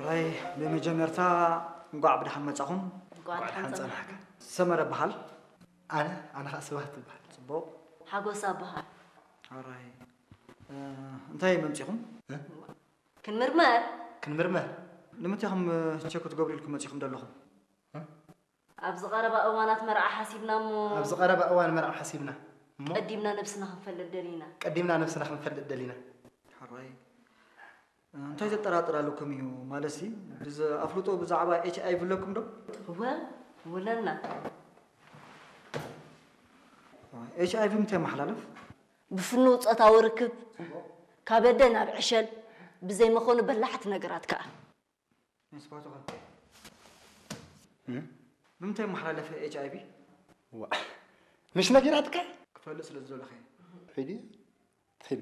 ራይ ብመጀመርታ እንቋዕ ብደሓን መጻኹም። እንቋዕ ደሓን ጸናሕካ። ሰመረ በሃል። ኣነ ኣነ ከዓ ስብሃት ትበሃል። ጽቡቕ። ሓጎስ ኣበሃል። ራይ እንታይ መምጺኹም? ክንምርመር። ክንምርመር። ንምንታይ ኢኹም ቸክ ክትገብሩ ኢልኩም መጺኹም ዘለኹም? ኣብዚ ቀረባ እዋናት መርዓ ሓሲብና እሞ ኣብዚ ቀረባ እዋን መርዓ ሓሲብና እሞ ቀዲምና ነብስና ክንፈልጥ ደሊና። ቀዲምና ነብስና ክንፈልጥ ደሊና። ሓራይ እንታይ ዘጠራጥር ኣለኩም እዩ? ማለትሲ ብዝ- ኣፍልጦ ብዛዕባ ኤች ኣይ ቪ ኣለኩም ዶ? እወ ውለና። ኤች ኣይ ቪ ምንታይ የመሓላልፍ? ብፍኑው ጾታዊ ርክብ ካብ ኣደ ናብ ዕሸል ብዘይ መኾኑ በላሕቲ ነገራት ከኣ ንስባትኻ ብምንታይ መሓላለፈ ኤች ኣይ ቪ? ዋ ምሽ ነጊራትካ? ክፈልጥ ስለ ዝደለኸ። ሒዲ ሒዲ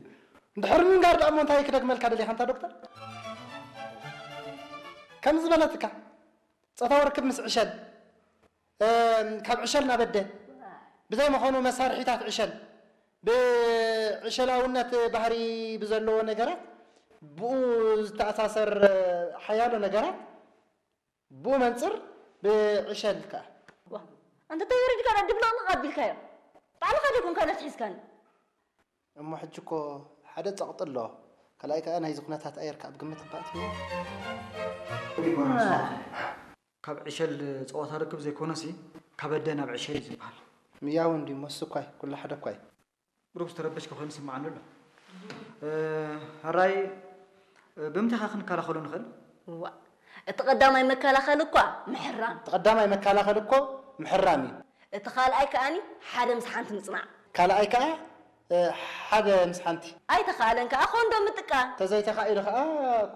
እንድሕር ምንጋር ደኣ እሞ እንታይ ክደግመልካ ደሊኻ እንታ ዶክተር? ከም ዝበለትካ ጾታዊ ርክብ ምስ ዕሸል እም፣ ካብ ዕሸል ናብ ኣደ ብዘይ መኾኑ መሳርሒታት ዕሸል ብዕሸላውነት ባህሪ ብዘለዎ ነገራት ብኡ ዝተኣሳሰር ሓያሎ ነገራት ብኡ መንፅር ብዕሸል ከኣ ዋ ኣንተ ተወሪድካ ዶ ድብለቕለቕ ኣቢልካዮ ባዕልኻ ዶ ኮንካ ነቲ ሒዝካኒ እሞ ሕጂ እኮ ሓደ ፀቕጢ ኣሎ ካልኣይ ከኣ ናይዚ ኩነታት ኣየር ከኣ ብግምት እባ ኣትይዎ ካብ ዕሸል ፀወታ ርክብ ዘይኮነሲ ካብ ኣደ ናብ ዕሸል እዩ ዝበሃል። ምያው እንድዩ ሞስ እኳይ ኩሉ ሓደ እኳይ ብሩክ ዝተረበሽከ ኮይኑ ስምዓኒ ኣሎ። ሕራይ ብምንታይ ኸ ክንከላኸሎ ንኽእል? ዋ እቲ ቀዳማይ መከላኸሊ እኳ ምሕራም እቲ ቀዳማይ መከላኸሊ እኮ ምሕራም እዩ። እቲ ካልኣይ ከኣኒ ሓደ ምስ ሓንቲ ምፅናዕ ካልኣይ ከዓ ሓደ ምስ ሓንቲ ኣይተኻእለን ከዓ ኮንዶም ምጥቃም ተዘይተኻኢሉ ከዓ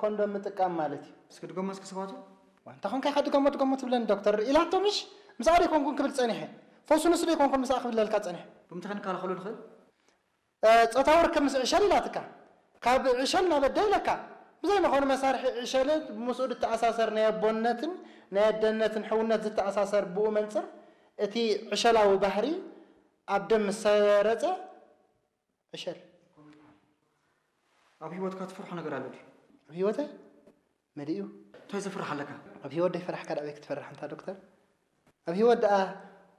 ኮንዶም ምጥቃም ማለት እዩ። እስኪ ድገሞ እስኪ ስባቱ። እንታይ ኾንካ ኢኻ ድገሞ ድገሞ ትብለኒ ዶክተር ኢላቶ ምሽ ምስኣ ደይኮንኩን ክብል ፀኒሐ ፈውሱ ንሱ ደይኮንኩን ምስኣ ክብለልካ ፀኒሐ ብምንታይ ክንከላኸሎ ንኽእል? ጾታዊ ርክብ ምስ ዕሸል ኢላትካ ካብ ዕሸል ናብ ኣደ ኢለካ ብዘይ መኾኑ መሳርሒ ዕሸል ምስኡ ዝተኣሳሰር ናይ ኣቦነትን ናይ ኣደነትን ሕውነት ዝተኣሳሰር ብኡ መንፅር እቲ ዕሸላዊ ባህሪ ኣብ ደም ምስ ሰረፀ ዕሸል ኣብ ህይወትካ ትፈርሖ ነገር ኣሎ ድዩ? ኣብ ህይወተ መሊኡ እንታይ ዘፍርሕ ኣለካ? ኣብ ህይወት ደይፈራሕካ ደኣ ኣበይ ክትፈርሕ እንታ ዶክተር? ኣብ ህይወት ደኣ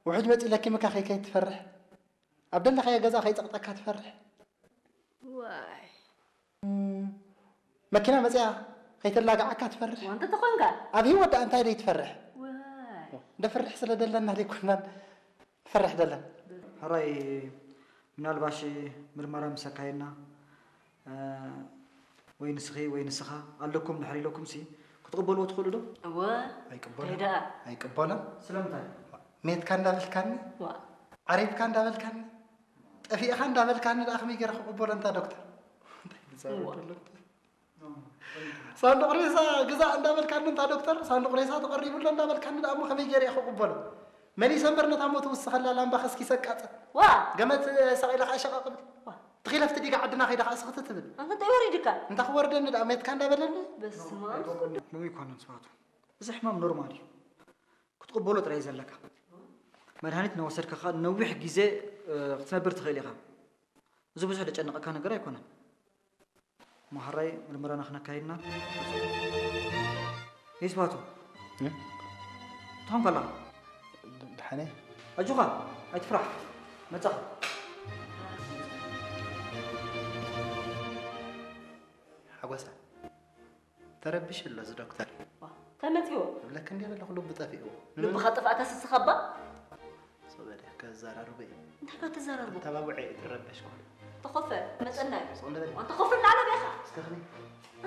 ውሑጅ መፂኡ ለኪምካ ከይከይድ ትፈርሕ ኣብ ደለኻዮ ገዛ ከይፀቕጠካ ትፈርሕ ዋይ መኪና መፅያ ከይተላጋዓካ ትፈርሕ ዋንተ ተኾንካ ኣብ ህይወት ደኣ እንታይ ደይ ትፈርሕ ዋይ ደፍርሕ ስለ ደለና ዘይኮናን ትፈርሕ ደለን ሕራይ ምናልባሽ ምርመራ ምስ ኣካየድና ወይ ንስኺ ወይ ንስኻ ኣለኩም ድሕር ኢለኩም ሲ ክትቕበልዎ ትኽእሉ ዶ? እወ እንታይ ደኣ ኣይቅበሎን ስለምንታይ? ሜትካ እንዳበልካኒ ዓሪፍካ እንዳበልካኒ ጠፊእኻ እንዳበልካኒ ደኣ ከመይ ገይረ ክቕበሎ እንታ ዶክተር ሳንዱቕ ሬሳ ግዛእ እንዳበልካኒ እንታ ዶክተር ሳንዱቕ ሬሳ ተቐሪቡ ኣሎ እንዳበልካኒ ደኣ እሞ ከመይ ገይረ እየ ክቕበሎ መሊሰ እምበር ነታ ሞት ውስኸላ ላምባ ከስኪሰ ቃፀ ዋ ገመት ሰቒለ ከዓ ሸቐቕ ብል ትኺለፍቲ ዲጋ ዓድና ከይደ ከዓ ስኽቲ ትብል ኣንተ እንታይ ወሪድካ እንታ ክወርደኒ ደኣ ሜትካ እንዳበለኒ በስመ ሙም ይኮነን ስባቱ እዚ ሕማም ኖርማል እዩ ክትቕበሎ ጥራይ ዘለካ መድሃኒት እናወሰድካ ከዓ ነዊሕ ግዜ ክትነብር ትኽእል ኢኻ እዚ ብዙሕ ደጨነቐካ ነገር ኣይኮነን ማሕራይ ምርመራና ክነካይድና ይስባቱ ትኾን ከላ ድሓነ ኣጆኻ ኣይትፍራሕ መጻኻ ሓጎሳ ተረቢሹ ኣሎ እዚ ዶክተር ተመፅዎ እብለክ እንዲ ዘለኹ ልቡ ጠፊእዎ ልብኻ ጥፍኣካ ስስኻ እባ ሶበደ ከዘራርቦ እዩ እንታይ ካ ትዘራርቦ ተባብዐ እዩ ትረበሽ ኩሉ ተኸፈ መፀና እዩ ሶንደበል ኣንተ ኸፍል ናለ ቤኻ እስከ ከመይ